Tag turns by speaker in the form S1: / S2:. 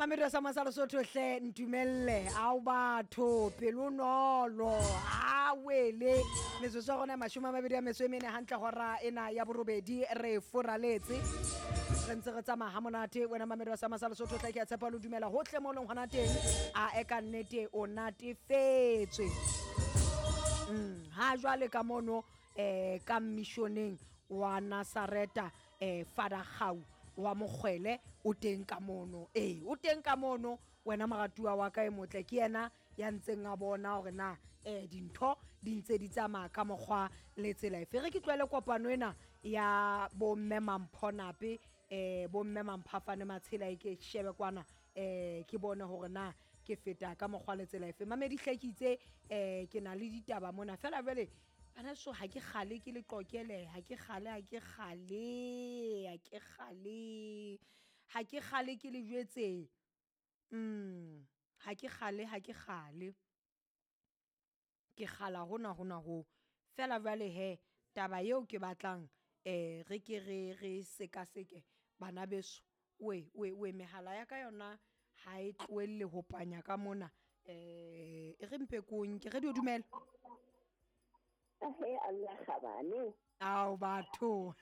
S1: Mamedi wa sa Masalo Sotho hle ntumelle ao batho pelonolo a wele metsotso ya gona 28 hantle gora ena ya borobedi re foraletse re ntse re tsamaya ga monate. Wena mamedi wa sa Masalo Sotho hle ke a tshepa lo dumela hohle mo leng gona teng, a e ka nnete o natefetswe. Ha jwale ka mono ka missioneng wa Nazareta, Father Gau wa Mokgwele o teng ka mono. Ee, o teng ka mono wena moratuwa wa ka e motle, ke yena ya ntseng a bona hore na dintho di ntse di tsamaya ka mokgwa le tsela efe. Re ke tlohele kopano ena ya bomme Mamphonape, bomme Mamphafane Matshela, e ke shebe kwana, ke bone hore na ke feta ka mokgwa le tsela efe. Mamedi hle ke itse, ke na le ditaba mona fela jwale bana so ha ke kgale ke le qokele, ha ke kgale, ha ke kgale, ha ke kgale, ha ke kgale ke le jwetse. Ha ke kgale, ha ke kgale, ke kgala hona hona ho fela jwale hee taba eo ke batlang re ke re sekaseke bana beso. We we we mehala ya ka yona ha e tlohelle ho panya ka mona, e re mpe ko nke radio. Dumela.
S2: Ahe, Allah kgabane.
S1: Ao batho.